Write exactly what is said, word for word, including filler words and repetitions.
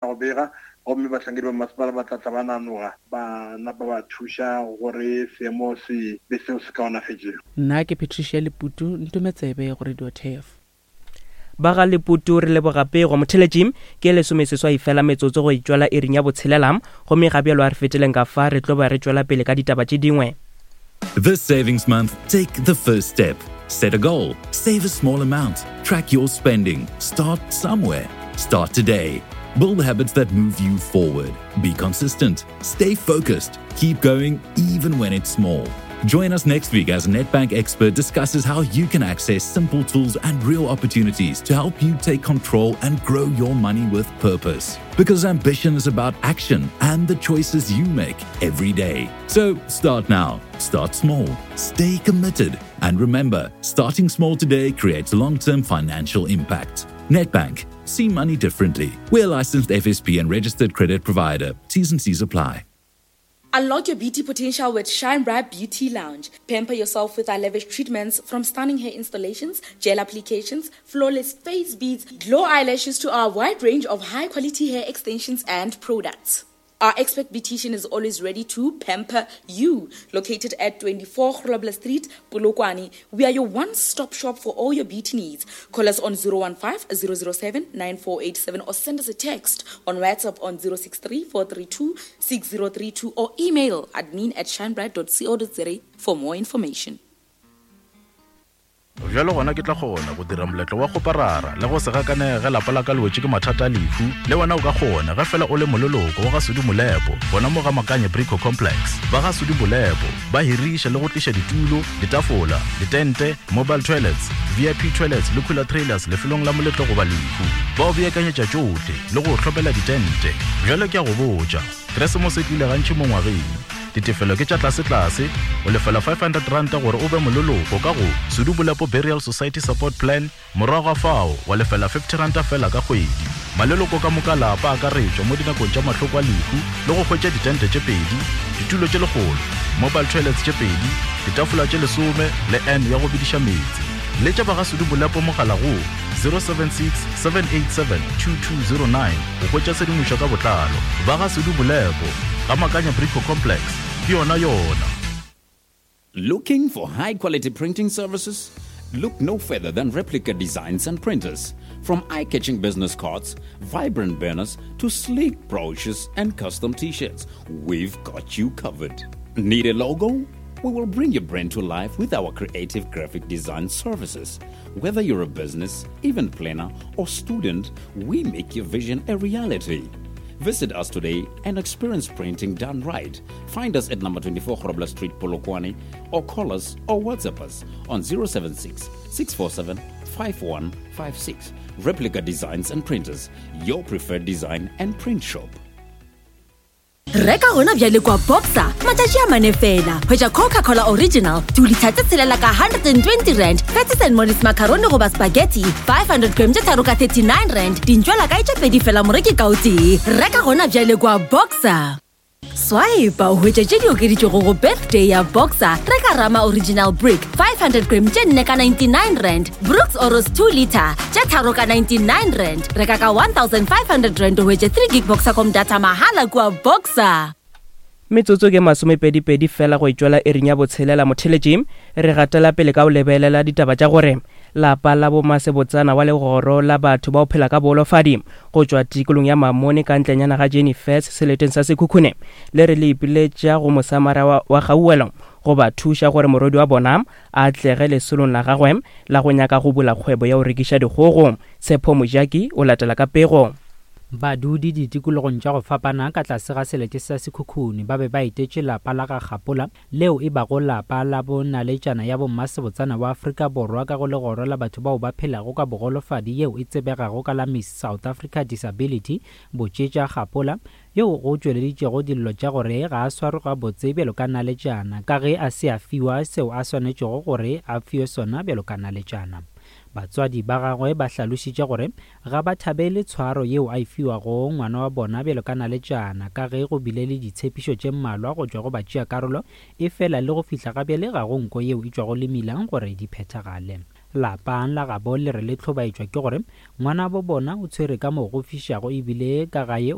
Go bega, gomme bahlankedi ba masepala ba tla tla ba nanoga ba napa ba thuša gore seemo se be seo se kaonafetšego. Nna ke Patricia Leputu, ntome tsebe go Radio Turf. Ba ga Leputu re leboga pego. Motheletši ke lesomeseswai fela metsotso go itšwela iring ya botshelela, gomme ga bjalo a re feteleng ka fa re tlo ba re tšwela pele ka ditaba tše dingwe. This savings month, take the first step. Set a goal, save a small amount, track your spending, start somewhere. Start today. Build habits that move you forward. Be consistent, stay focused, keep going even when it's small. Join us next week as Nedbank expert discusses how you can access simple tools and real opportunities to help you take control and grow your money with purpose. Because ambition is about action and the choices you make every day. So start now, start small, stay committed, and remember, starting small today creates long term financial impact. Nedbank, see money differently. We're a licensed F S P and registered credit provider. T's and C's apply. Unlock your beauty potential with Shine Bright Beauty Lounge. Pamper yourself with our lavish treatments, from stunning hair installations, gel applications, flawless face beads, glow eyelashes to our wide range of high-quality hair extensions and products. Our expert beautician is always ready to pamper you. Located at twenty-four Grobler Street, Polokwane, we are your one-stop shop for all your beauty needs. Call us on zero one five, zero zero seven, nine four eight seven or send us a text on WhatsApp on zero six three, four three two, six zero three two or email admin at shinebright dot co dot za for more information. Bjalo gona ke tla kgona go dira moletlo wa go parara le go se gakanege lapa la ka le wetše ke mathata a lehu. Le wena o ka kgona ge fela o le moleloko wa ga Sudi Molepo, gona mo ga Makanye Brico Complex. Ba ga Sudi Molepo ba hiriša le go tliša ditulo, ditafola, ditente, mobile toilets, V I P toilets le cooler trailers lefelong la moletlo goba lehu. Ba o beakanyetša tšohle le go hlopela ditente. Bjalo ke a go botša, Keresemose e tlile gantši mo ngwageng. Ditefelo ke tša tlase-tlase, o lefela five hundred ranta gore o be moleloko ka go Sudi Molepo Burial Society Support Plan, morago ga fao wa lefela fifty ranta fela ka kgwedi. Maleloko ka moka lapa a akaretšwa mo dinakong tša mahloko a lehu le go hwetša ditente tše pedi, ditulo tše lekgolo, mobile toilets tše pedi, ditafola tše lesome le N ya go bediša meetse. Letša ba ga Sudi Molepo mogala go zero seven six, seven eight seven, two two zero nine go hwetša tshedimošo ka botlalo. Ba ga Sudi Molepo, ga Makanya Brico Complex, ke yona yona. Looking for high-quality printing services? Look no further than Replica Designs and Printers. From eye-catching business cards, vibrant banners, to sleek brochures and custom t-shirts, we've got you covered. Need a logo? We will bring your brand to life with our creative graphic design services. Whether you're a business, event planner, or student, we make your vision a reality. Visit us today and experience printing done right. Find us at number twenty-four Grobler Street, Polokwane, or call us or WhatsApp us on zero seven six, six four seven, five one five six. Replica Designs and Printers, your preferred design and print shop. Reka gona bjale kwa Boxer, matšatši a mane fela. Hwetša Coca-Cola Original, two litre tse tshelela ka hundred and twenty rand, Patties and Molly's macaroni goba spaghetti, five hundred gram tše tharo ka thirty-nine rand, dintšwela kae tše pedi fela moreki ka o tee. Reka gona bjale kwa Boxer. Swipe o hwetše tše di okeditšwego go birthday ya Boxer. Reka Rama Original Brick, five hundred gram tše nne ka ninety-nine rand, Brooks Oros two litre tše tharo ka ninety-nine rand. Reka ka one thousand five hundred rand o hwetše three gig Boxercom data mahala kua Boxer. Metsotso ke masomepedi-pedi fela go itšwela iring ya botshelela motheletši. Re gatela pele ka go lebelela ditaba tša gore lapa la bomasebotsana wa legoro la batho ba o phela ka boholofadi go tšwa tikolong ya Mamone ka ntlenyana ga Jenny Fess seleteng sa Sekhukhune le re le ipiletša go mosamara wa, wa Gauwelo go ba thuša gore morwedi wa bona a atlege lesolong la gagwe la go nyaka go bula kgwebo ya go rekiša dikgogo. Tshepo Mojaki o latela ka pego. Badudi ditikologong tša go fapana ka tlase ga selete sa Sekhukhune ba be ba etetše lapa la ga Gapola leo e bago lapa la bonaletšana ya bommasebotsana wa Afrika Borwa ka go legoro la batho bao ba phelago ka bogolofadi yeo e tsebegago ka la Miss South Africa Disability Botšetša Gapola, yeo go tšweleditšego dillo tša gore ga a swarwe gabotse bjalo ka naletšana ka ge a se a fiwa seo a swanetšego gore a fiwe sona bjalo ka naletšana. Batswadi ba gagwe ba hlalošitše gore ga ba thabele tshwaro yeo a e fiwago ngwana wa bona bjalo ka naletšana ka ge go bile le ditshepišo tše mmalwa go tšwa go batšeakarolo, efela le go fihla ga bjale ga go nko yeo e tšwago le melang gore di phethagale. Lapa la gabo le re le hlobaetšwa ke gore ngwanabo bona o tshwere ka mo go fišago ebile ka gae